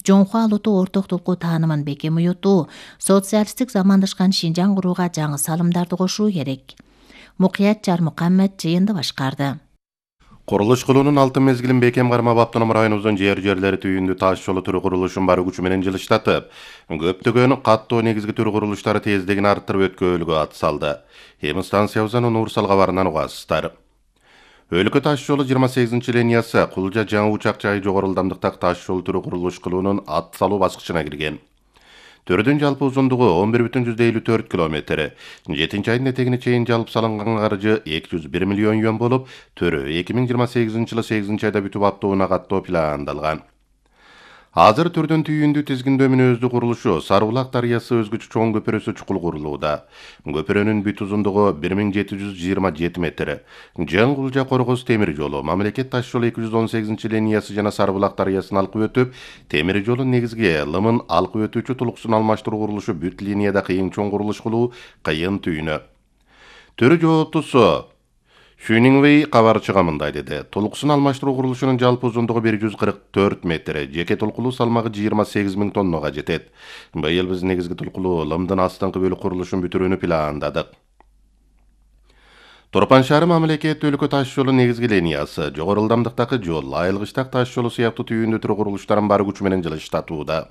жоңку алутуу ортоктулуку таанымын бекем уютуу, социалисттик замандашкан Шинжаң курууга жаңы салымдарды кошуу керек. Мукият Жармукаммед жыйынды башкарды. Курулуш кылуунун алтын мезгилин бекем кармап автоном районубуздун жерлери түйүндү таш жолу түрү курулушун бар күчү менен жылыштатып, көптөгөн каттоо негизги түрү курулуштары тездигин арттырып өткөрүүгө ат салды. Эми станциябыздан Нурсал кабарынан угасыздар. Өлкө таш жолу 28 линиясы Кулжа жаңы учак жайы жогору ылдамдыктагы таш жол түрү курулуш кылуунун ат салуу баскычына кирген. Төрүдүн жалпы узундугу 11,54 километр. 7-айдын этегине чейин жалпы салынган каржы 201 миллион юан болуп, төрү 2028-жылы 8-айда бүтүп аттоону каттоо пландалган. Азыр түрдүн түйүндү тизгиндөө мүнөздүү курулушу Сарыбулак дарыясы өзгөчө чоң көпүрөсү чукул курулууда. Көпүрөнүн бүт узундугу 1727 метр. Жаңы Кулжа Коргоз темир жолу, мамлекет таш жолу 218 линиясы жана Сарыбулак дарыясын алкып өтүп, темир жолун негизги лымын алкып өтүүчү тулуксун алмаштыруу курулушу бүт линияда кыйын чоң курулуш кылуу кыйын түйүнү. Төрү жооптусу Шүнингвей кабар чыгамындай деди. Тулуксун алмаштыруу курулушунун жалпы узундугу 144 метр, жеке толкулуу салмагы 28 000 тоннага жетет. Быйыл биз негизги толкулуу лымдын астыңкы бөлүк курулушун бүтүрүүнү пландадык. Торпан шаары мамлекет өлкө таш жолу негизги линиясы, жогору ылдамдыктагы жол, айылгычтак таш жолу сыяктуу түйүндү түрү курулуштарын бар күчү менен жылыштатууда.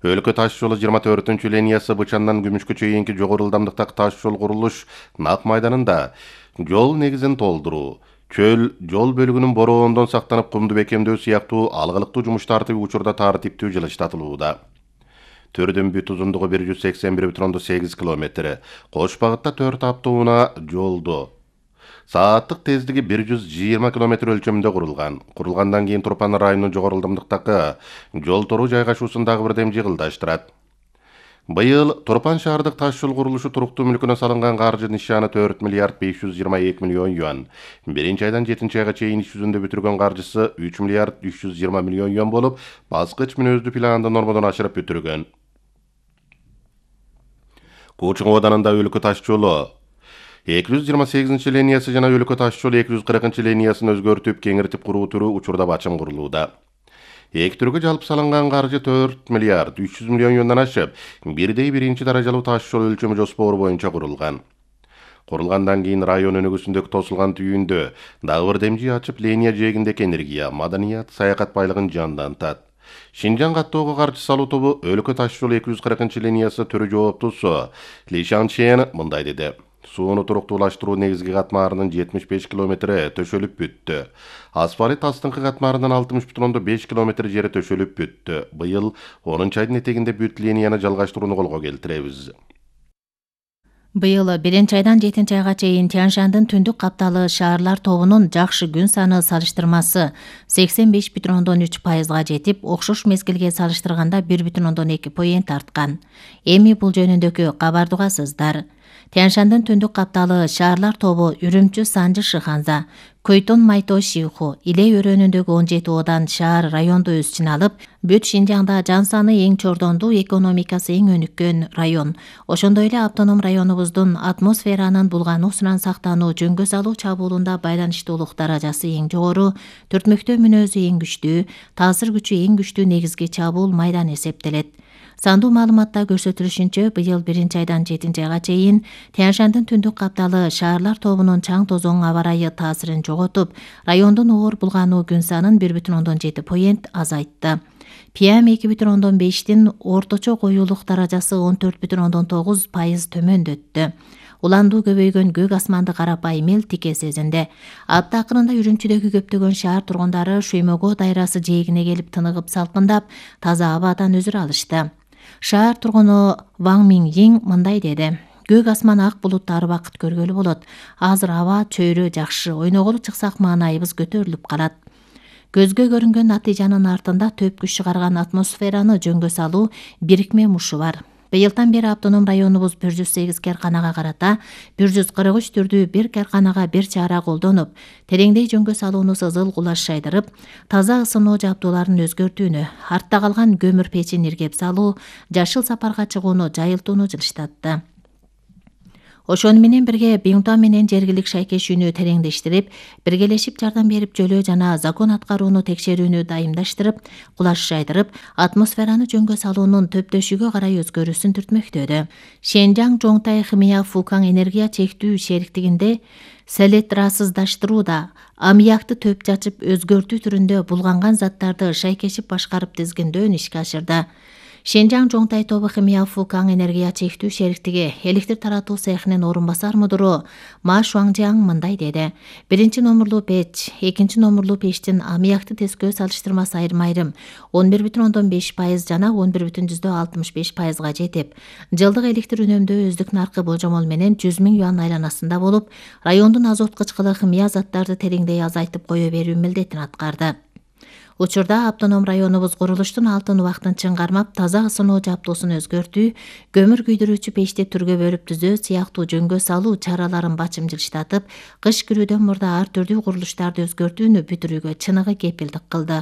Өлкө таш жолу 24 линиясы Бычандан Күмүшкө чейинки жогору ылдамдыктагы таш жол курулуш Нак майданында жол негизин толтуруу, чөл жол бөлүгүнүн бороондон сактанып кумду бекемдөө сыяктуу алгылыктуу жумуштарды учурда тартиптүү жылыштатылууда. Төрдүн бүт узундугу 181,8 километр. Кош багытта 4 автоунаа жолду. Сааттык тездиги 120 км өлчөмүндө курулган. Курулгандан кийин Турпан районунун жогору ылдамдыктагы жол тору жайгашуусундагы бирдем жыгылдаштырат. Быйыл Турпан шаардык таш жол курулушу туруктуу мүлкүнө салынган каржы нишаны 4 миллиард 522 миллион юан. 1-айдан 7-айга чейин иш жүзүндө бүтүргөн каржысы 3 миллиард 320 миллион юан болуп, баскыч мүнөздүү планды нормодон ашырып бүтүргөн. Кучуң оданында өлкө таш жолу 228 линиясы жана өлкө таш жолу 240 линиясын өзгөртүп, кеңиртип куруу түрү учурда бачым курулууда. Эки түргө жалпы салынган каржы 4 миллиард 300 миллион юандан ашып, бирдей биринчи даражалуу таш жол өлчөмү жоспору боюнча курулган. Курулгандан кийин район өнүгүүсүндөгү тосулган түйүндө дагы бир демжи ачып, линия жээгиндеги энергия, маданият, саякат байлыгын жандантат. Шинжаң каттоого каржы салуу тобу өлкө таш жолу 240 линиясы түрү жооптусу Ли Шанчен мындай деди. Сууну туруктуулаштыруу негизги катмарынын 75 километри төшөлүп бүттү. Асфальт астыңкы катмарынын 60,5 километр жери төшөлүп бүттү. Быйыл 10-айдын этегинде бүт линияны жалгаштырууну колго келтиребиз. Быйыл 1-айдан 7-айга чейин Тяньшандын түндүк капталы шаарлар тобунун жакшы күн саны салыштырмасы 85,3%га жетип, окшош мезгилге салыштырганда 1,2 поинт арткан. Эми бул жөнүндөгү кабарды угасыздар. Тяньшандын түндүк капталы шаарлар тобу Үрүмчү, Санжы, Шыханза, Көйтон, Майто, Шиху, Иле өрөөнүндөгү 17 одан шаар районду өз ичине алып, бүт Шинжаңда жан саны эң чордондуу, экономикасы эң өнүккөн район. Ошондой эле автоном районубуздун атмосферанын булгануусунан сактануу, жөнгө салуу чабуулунда байланыштуулук даражасы эң жогору, төртмөктөө мүнөзү эң күчтүү, таасир күчү эң күчтүү негизги чабуул майдан эсептелет. Сандуу маалыматта көрсөтүлүшүнчө, быйыл 1-айдан 7-айга чейин Тяньшандын түндүк капталы шаарлар тобунун чаң тозоң аба ырайы таасирин жоготуп, райондун оор булгануу күн санын 1,7 поинт азайтты. PM 2,5-тин орточо коюулук даражасы 14,9% төмөндөттү. Уландуу көбөйгөн көк асманды карапайым эл тике сезинди. Апта акырында Үрүмчүдөгү көптөгөн шаар тургундары Шөймөгө дайрасы жээгине келип тыныгып салкындап, таза абадан өзүр алышты. Шаар тургуну Ваң Минйин мындай деди. Көк асман ак булуттары бакыт көргөлү болот. Азыр аба чөйрө жакшы, ойноголу чыксак маанайыбыз көтөрүлүп калат. Көзгө көрүнгөн натыйжанын артында төп күч чыгарган атмосфераны жөнгө салуу бирикме мушу бар. Быйылдан бери автоном районубуз 108 керканага карата 143 түрдүү бир керканага бир чара колдонуп, тереңдей жөнгө салууну сызыл кулаш шайдырып, таза ысынуу жабдууларын өзгөртүүнү, артта калган көмүр печин иргеп салуу, жашыл сапарга чыгууну жайылтууну жылыштатты. Ошону менен бирге Биңтуан менен жергилик шайкешүүнү тереңдештирип, биргелешип жардам берип жөлөө жана закон аткарууну текшерүүнү дайымдаштырып, кулаш жайдырып, атмосфераны жөнгө салуунун төптөшүгө карай өзгөрүүсүн түртмөктөдө. Шенжаң Жоңтай Химия Фукаң энергия чектүү шериктигинде селектрасыздаштырууда аммиакты төп чачып өзгөртүү түрүндө булганган заттарды шайкешип башкарып тизгиндөө ишке ашырды. Шенжаң Жоңтай тобу Химия Фукаң энергия чектүү шериктиги электр таратуу цехинин орун басар мудуру Ма Шуаңжаң мындай деди. Биринчи номурлуу печ, экинчи номурлуу пештин аммиакты тескөө салыштырмасы айрым-айрым 11,5% жана 11,65%га жетип, жылдык электр үнөмдөө өздүк наркы болжомол менен 100 000 юан айланасында болуп, райондун азот кычкылы химия заттарды тереңдей азайтып кое берүү милдетин аткарды. Учурда автоном районубуз курулуштун алтын убактын чыңгармап, таза ысынуу жабдуусун өзгөртүү, көмүр күйдүрүүчү печти түргө бөлүп түзөө сыяктуу жөнгө салуу чараларын бачымжилыштатып, кыш кирүүдөн мурда ар түрдүү курулуштарды өзгөртүүнү бүтүрүүгө чыныгы кепилдик кылды.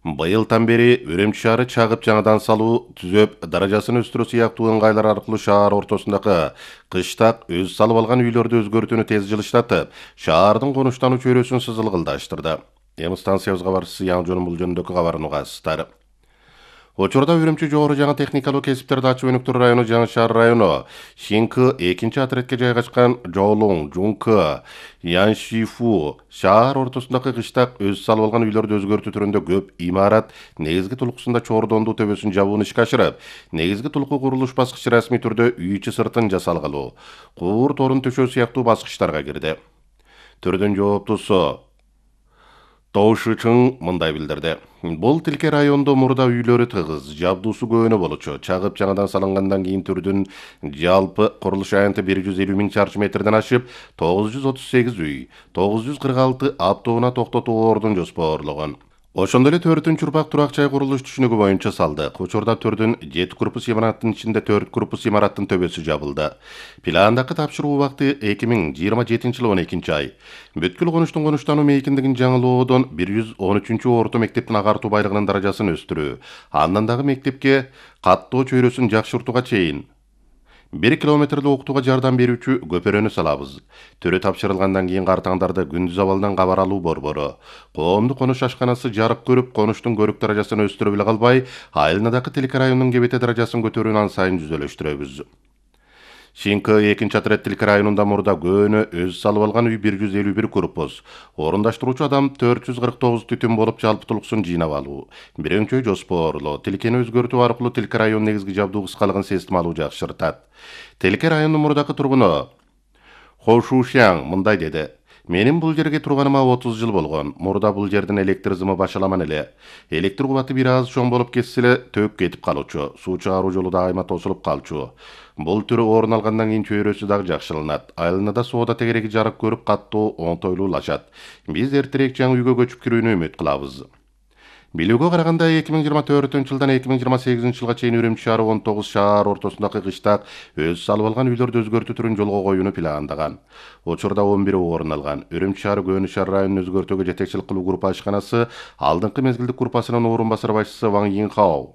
Быйылдан бери Үрүмчү шаары чагып жаңадан салуу, түзөп, даражасын өстүрүү сыяктуу ыңгайлар аркылуу шаар ортосундагы кыштак өз салып алган үйлөрдү өзгөртүүнү тез жылыштатып, шаардын конуштануу чөйрөсүн сызылгылдаштырды. Эми станциябыз кабарчысы Яңжонун бул жөнүндөгү кабарын угасыздар. Учурда Үрүмчү жогору жаңы техникалуу кесиптерди ачуу өнүктүрүү району Жаңы Шаар району Шинкы 2 отрядке жайгашкан Жолуң, Жункы, Яншифу шаар ортосундагы кыштак өз салып алган үйлөрдү өзгөртүү түрүндө көп имарат негизги тулкусунда чордондуу төбөсүн жабууну ишке ашырып, негизги тулку курулуш баскычы расмий түрдө үй ичи сыртын жасалгылоо, куур торун төшөө сыяктуу баскычтарга кирди. Түрдүн жооптусу Тоушучуң мындай билдирди. Бул тилке райондо мурда үйлөрү тыгыз, жабдуусу көөнө болчу. Чагып жаңадан салынгандан кийин түрдүн жалпы курулуш аянты 150 000 чарчы метрден ашып, 938 үй, 946 автоунаа токтотуу ордун жоспорлогон. Ошондой эле 4-урпак турак жай курулуш түшүнүгү боюнча салдык. Учурда түрдүн 7 корпус имараттын ичинде 4 корпус имараттын төбөсү жабылды. Пландагы тапшыруу убакты 2027-жылы 12 ай. Бүткүл конуштун конуштануу мейкиндигин жаңылоодон 113-орто мектептин агартуу байлыгынын даражасын өстүрүү, андан дагы мектепке каттоо чөйрөсүн жакшыртууга чейин 1 километрлі окутууга жардам берүүчү көпөрөнү салабыз. Төрө тапшырылгандан кийин картаңдарды күндүз абалдан кабар алуу борбору, коомдук конуш ашканасы жарык көрүп, конуштун көрүк даражасын өстүрүп эле калбай, айылнадагы тилке районунун кебете даражасын көтөрүүнү ан сайын жүзөлөштүрөбүз. Шинкы 2 отряд тилке районунда мурда көөнө өз салып алган үй 151 корпус, орундаштыруучу адам 449 түтүн болуп жалпы тулкусын жыйнап алуу, бирөңчөй жоспорлоо, тилкени өзгөртүү аркылуу тилке район негизги жабдуу кыскалыгын систем алуу жакшыртат. Тилке районунун мурдакы тургуну Хошушяң мындай деди. Менин бул жерге турганыма 30 жыл болгон. Мурда бул жердин электр зымы башаламан эле. Электр кубаты бир аз чоң болуп кетсе эле төк кетип калуучу. Суу чыгаруу жолу да айма тосулуп калчу. Бул түрү орун алгандан кийин чөйрөсү дагы жакшырылат. Айылында соода тегереги жарык көрүп каттоо оңтойлуулашат. Биз эртерээк жаңы үйгө көчүп кирүүнү үмүт кылабыз. Билүүгө караганда 2024-жылдан 2028-жылга чейин Үрүмчү шаары 19 шаар ортосундагы кыштак өз салып алган үйлөрдү өзгөртүү түрүн жолго коюуну пландаган. Учурда 11 орун алган. Үрүмчү шаары Көөнү шаар районун өзгөртүүгө жетекчилик кылуу группа ашканасы алдыңкы мезгилдик группасынын орун басар башчысы Ван Йинхао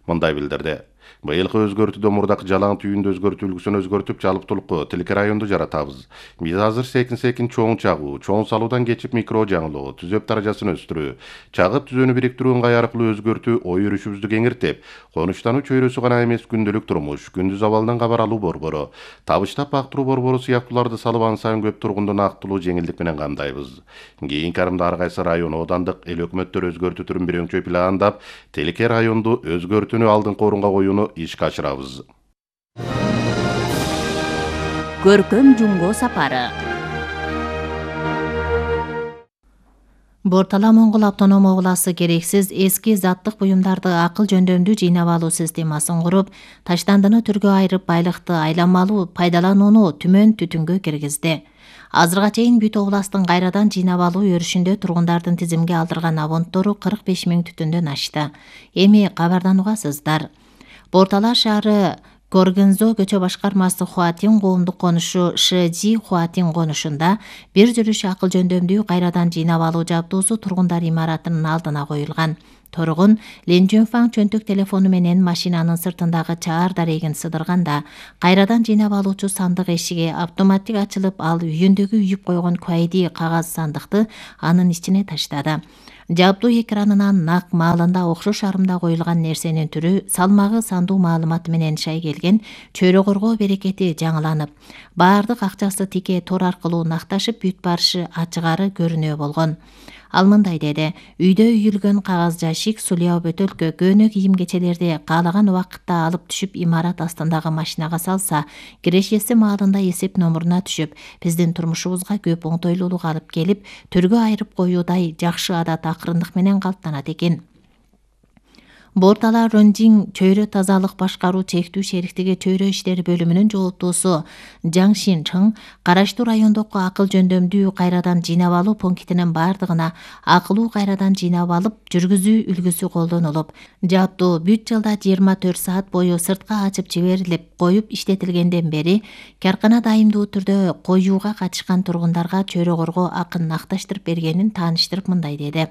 мындай билдирди. Быйылкы өзгөртүүдө мурдакы жалаң түйүндү өзгөртүү үлгүсүн өзгөртүп, жалып тулку тилке районду жаратабыз. Биз азыр секин чоң чагуу, чоң салуудан кечип микро жаңылоо, түзөп даражасын өстүрүү, чагып түзөнү бириктирүү ыңгай аркылуу өзгөртүү ой өрүшүбүздү кеңиртип, конуштануу чөйрөсү гана эмес күндүлүк турмуш, күндүз абалдан кабар алуу борбору, табыштап бактыруу борбору сыяктууларды салып ан сайын көп тургунду актылуу жеңилдик менен камдайбыз. Кийинки арымда ар кайсы район, оодандык эл өкмөттөр өзгөртүү түрүн бирөңчөй пландап, тилке районду өзгөртүүнү алдыңкы орунга коюуну ишке ашырабыз. Көркөм Жумго сапары. Бортала Моңгол автоном обласы керексиз эски заттык буюмдарды акыл жөндөмдүү жыйнап алуу системасын куруп, таштандыны түргө айырып байлыкты айланмалуу пайдаланууну түмөн түтүнгө киргизди. Азырга чейин бүт областын кайрадан жыйнап алуу өрүшүндө тургундардын тизимге алдырган абонттору 45 000 түтүндөн ашты. Эми кабардан угасыздар. Бортала шаары Горгензо көчө башкармасы Хуатин коомдук конушу Шэжи Хуатин конушунда бир жүрүш акыл жөндөмдүү кайрадан жыйнап алуу жабдуусу тургундар имаратынын алдына коюлган. Тургун Лин Жунфаң чөнтөк телефону менен машинанын сыртындагы чаар дарегин сыдырганда, кайрадан жыйнап алуучу сандык эшиги автоматтик ачылып, ал үйүндөгү үйүп койгон куайди кагаз сандыкты анын ичине таштады. Жабдуу экранынан нак маалында окшош арымда коюлган нерсенин түрү, салмагы, сандуу маалыматы менен шай келген чөйрө коргоо берекети жаңыланып, баардык акчасы тике тор аркылуу накташып бүт барышы ачыгары көрүнө болгон. Ал мындай деди: үйдө үйүлгөн кагаз жашик, сулуу бөтөлкө, көөнө кийим-кечелерди каалаган убакытта алып түшүп имарат астындагы машинага салса, кирешеси маалында эсеп номуруна түшүп, биздин турмушубузга көп оңтойлуулук алып келип, түргө айырып коюудай жакшы адат акырындык менен калыптанат экен. Бортала Ронжин чөйрө тазалык башкаруу чектүү шериктиги чөйрө иштери бөлүмүнүн жооптуусу Жаң Шин Чың караштуу райондогу акыл жөндөмдүү кайрадан жыйнап алуу пунктинин бардыгына акылуу кайрадан жыйнап алып жүргүзүү үлгүсү колдонулуп, жабдуу бүт жылда 24 саат бою сыртка ачып жиберилип коюп иштетилгенден бери каркана дайымдуу түрдө коюуга катышкан тургундарга чөйрө коргоо акын накташтырып бергенин тааныштырып мындай деди: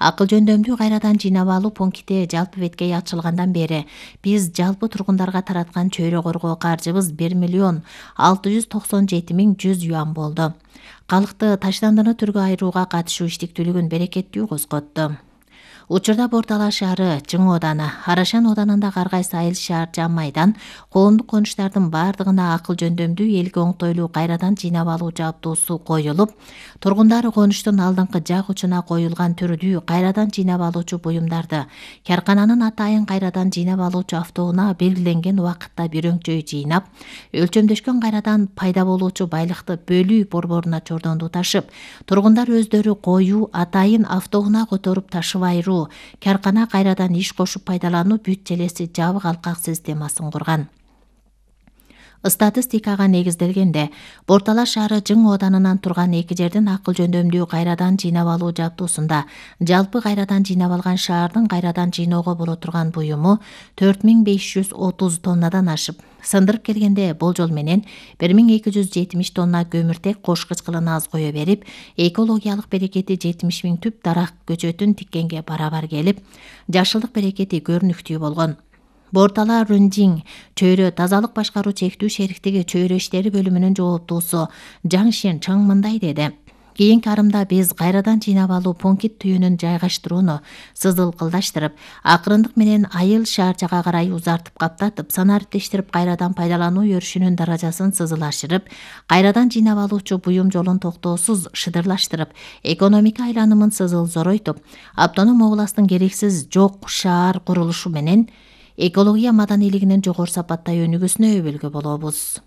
Акыл жөндөмдүү кайрадан жыйнап алуу пункти жалпы беткей ачылгандан бери биз жалпы тургундарга тараткан чөйрө коргоо каржыбыз 1,697,100 юан болду. Калыкты таштандыны түргө айырууга катышуу иштиктүүлүгүн берекеттүү козготту. Учурда Бортала шаары, Чың ооданы, Арашан оодарындагы ар кайсы айыл шаар жан майдан коомдук конуштардын бардыгына акыл жөндөмдүү элге оңтойлуу кайрадан жыйнап алуу жабдуусу коюлуп, тургундар конуштун алдыңкы жак учуна коюлган түрдүү кайрадан жыйнап алуучу буюмдарды каркананын атайын кайрадан жыйнап алуучу автоунаа белгиленген убакытта бирөңчөй жыйнап, өлчөмдөшкөн кайрадан пайда болуучу байлыкты бөлүү борборуна чордонду ташып, тургундар өздөрү коюу атайын автоунаа которуп ташып айыруу, каркана кайрадан иш кошуп пайдалануу бүт желеси жабык алкак системасын курган. Статистикага негизделгенде, Бортала шаары Чың оодарынан турган эки жердин акыл жөндөмдүү кайрадан жыйнап алуу жабдуусунда жалпы кайрадан жыйнап алган шаардын кайрадан жыйноого боло турган буюму 4530 тоннадан ашып, сындырып келгенде болжол менен 1270 тонна көмүртек кошкуч кылын аз кое берип, экологиялык берекети 70.000 түп дарак көчөтүн тиккенге барабар келип, жашылдык берекети көрүнүктүү болгон. Бортала Рунжин чөйрө тазалык башкаруу чектүү шериктиги чөйрө иштери бөлүмүнүн жооптуусу Жаң Шин Чың мындай деди: Кийинки арымда биз кайрадан жыйнап алуу пункт түйүнүн жайгаштырууну сызылкылдаштырып, акырындык менен айыл шаарчага карай узартып каптатып, санариптештирип кайрадан пайдалануу өрүшүнүн даражасын сызылашырып, кайрадан жыйнап алуучу буюм жолун токтоосуз шыдырлаштырып, экономика айланымын сызыл зоройтуп, автоном областтын керексиз жок шаар курулушу менен экология маданилигинин жогору сапаттай өнүгүүсүнө өбөлгө болобуз.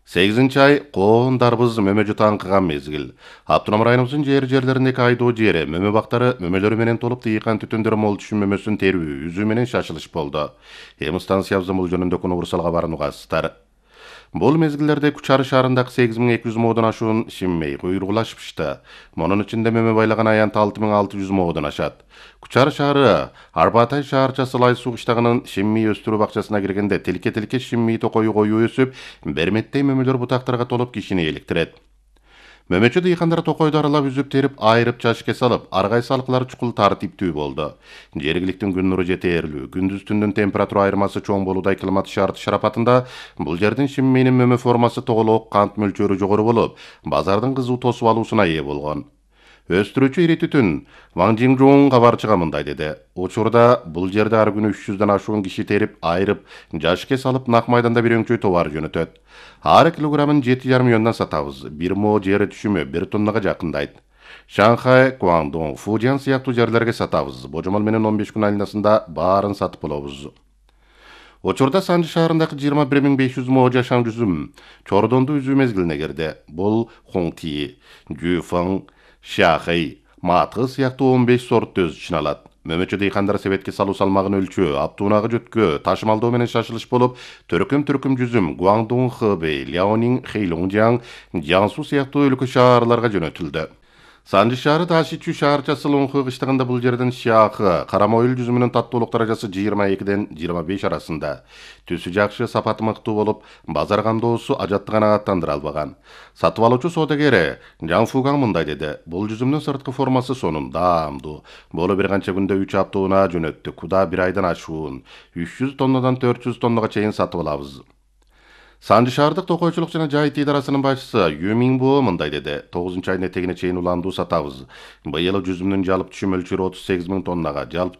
8-ай коондарбыз мөмө жутаңкыган мезгил. Автоном районубуздун жерлериндеги айдоо жери мөмө бактары мөмөлөрү менен толуп тыйкан түтүндөр мол түшүм мөмөсүн терүү, үзүү менен шашылыш болду. Эми станциябыздын бул жөнүндө урсал кабарын угасыздар. Бул мезгилдерде Кучар шаарындагы 8200 моодон ашуун шиммей куйругулашпышты. Монун ичинде мөмө байлаган аянт 6600 моодон ашат. Кучар шаары Арбатай шаарчасы Лай суу кыштагынын шимми өстүрүү бакчасына киргенде тилке шимми токою коюу өсүп, берметтей мөмөлөр бутактарга толуп кишини эликтирет. Мөмөчү дыйкандар токойду аралап үзүп терип, айырып чашке салып, ар кайсы алкылар чукул тартиптүү болду. Жергиликтин күн нуру жетээрлүү, күндүз түндүн температура айырмасы чоң болуудай климат шарты шарапатында бул жердин шимминин мөмө формасы тоголок, кант мөлчөрү жогору болуп, базардын кызуу тосуп алуусуна ээ болгон. Өстүрүүчү ири түтүн Ваң Жиңжуң кабарчыга мындай деди: Учурда бул жерде ар күнү 300дөн ашуун киши терип, айырып, жашке салып нак майданда бирөңчөй товар жөнөтөт. Ар килограммын 7,5 миллиондон сатабыз. Бир мо жери түшүмү 1 тоннага жакындайт. Шанхай, Гуандун, Фудзян сыяктуу жерлерге сатабыз. Божомол менен 15 күн айланасында баарын сатып болобуз. Учурда Санжы шаарындагы 21500 мо жашам жүзүм чордонду үзүү мезгилине кирди. Бул Хуңти, Жуфаң, Шахай, Матгы сыяктуу 15 сортту өз ичине алат. Мөмөчү дыйкандар себетке салуу салмагын өлчөө, аптуунагы жөткө, ташымалдоо менен шашылыш болуп, төркүм жүзүм Гуандун, Хэбэй, Ляонин, Хэйлонжяң, Жансу сыяктуу өлкө шаарларга жөнөтүлдү. Санжы шаары таш ичүү шаарчасы Лоңху кыштыгында бул жерден шаакы, карамоюл жүзүмүнүн таттуулук даражасы 22ден 25 арасында. Түсү жакшы, сапаты мыктуу болуп, базар камдоосу ажатты канааттандыра албаган. Сатып алуучу соодагери Жан Фугаң мындай деди: бул жүзүмдүн сырткы формасы сонун, даамдуу. Болу бир канча күндө 3 апта унаа жөнөттүк. Куда бир айдан ашуун. 300 тоннадан 400 тоннага чейин сатып алабыз. Санжы шаардык токойчулук жана жайыт идарасынын башчысы Ю Минбо мындай деди: 9 айдын этегине чейин уландуу сатабыз. Быйыл жүзүмдүн жалпы түшүм мөлчөрү 38 000 тоннага, жалпы